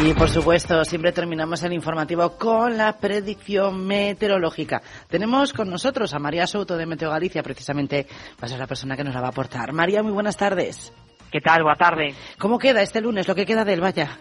Y por supuesto, siempre terminamos el informativo con la predicción meteorológica. Tenemos con nosotros a María Souto de Meteo Galicia, precisamente va a ser la persona que nos la va a aportar. María, muy buenas tardes. ¿Qué tal? Boa tarde. ¿Cómo queda este lunes, lo que queda del Valla?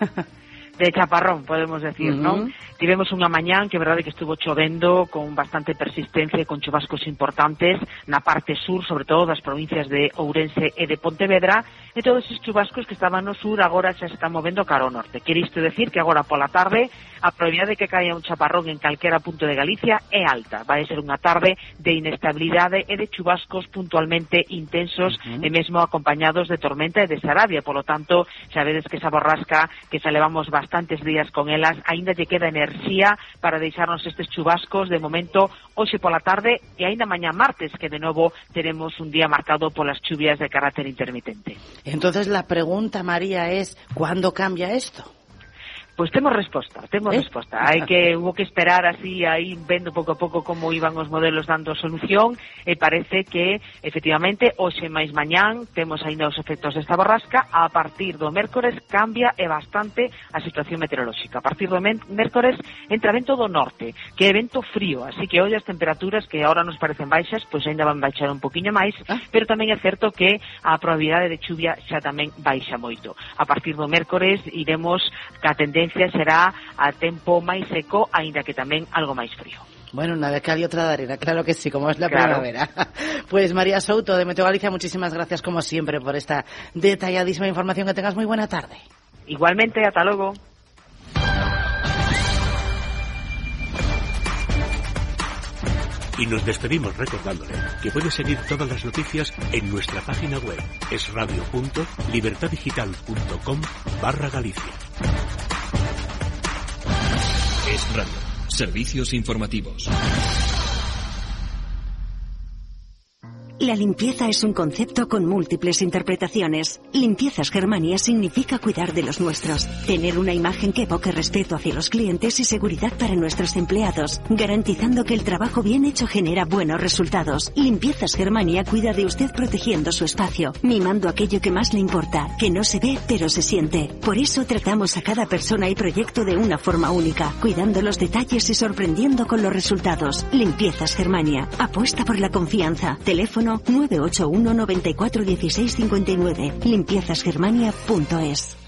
De chaparrón, podemos decir, ¿no? Tivemos unha mañán que é verdade que estuvo chovendo con bastante persistencia e con chubascos importantes na parte sur, sobre todo das provincias de Ourense e de Pontevedra, e todos esses chubascos que estaban no sur agora xa se están movendo cara ao norte. Quere isto decir que agora pola tarde a probabilidade de que caia un chaparrón en calquera punto de Galicia é alta. Vai ser unha tarde de inestabilidade e de chubascos puntualmente intensos e mesmo acompañados de tormenta e de sarabia. Polo tanto, xa vedes que esa borrasca que xa levamos bastantes días con elas, aínda lle queda enerxía para deixarnos estes chubascos de momento hoxe pola tarde e aínda mañá martes, que de novo teremos un día marcado polas chuvias de carácter intermitente. Entonces la pregunta, María, es ¿cuándo cambia esto? Pois temos resposta. Hubo que esperar así, aí vendo pouco a pouco como iban os modelos dando solución, e parece que, efectivamente, hoxe máis mañán temos aínda os efectos desta borrasca. A partir do mércores cambia e bastante a situación meteorolóxica. A partir do mércores entra vento do norte, que é vento frío, así que hoxe as temperaturas que agora nos parecen baixas, pois aínda van baixar un poquinho máis, pero tamén é certo que a probabilidade de chuvia xa tamén baixa moito. A partir do mércores iremos ca tendencia será a tempo máis seco, aínda que tamén algo máis frío. Bueno, una de cal y otra de arena, claro que sí, como es la primavera. Pues María Souto de Meteo Galicia, muchísimas gracias como siempre por esta detalladísima información. Que tengas muy buena tarde. Igualmente, hasta luego. Y nos despedimos recordándole que puede seguir todas las noticias en nuestra página web esradio.libertadigital.com/Galicia. Es Radio. Servicios informativos. La limpieza es un concepto con múltiples interpretaciones. Limpiezas Germania significa cuidar de los nuestros, tener una imagen que evoque respeto hacia los clientes y seguridad para nuestros empleados, garantizando que el trabajo bien hecho genera buenos resultados. Limpiezas Germania cuida de usted protegiendo su espacio, mimando aquello que más le importa, que no se ve pero se siente. Por eso tratamos a cada persona y proyecto de una forma única, cuidando los detalles y sorprendiendo con los resultados. Limpiezas Germania. Apuesta por la confianza. Teléfono 981 94 16 59. limpiezasgermania.es.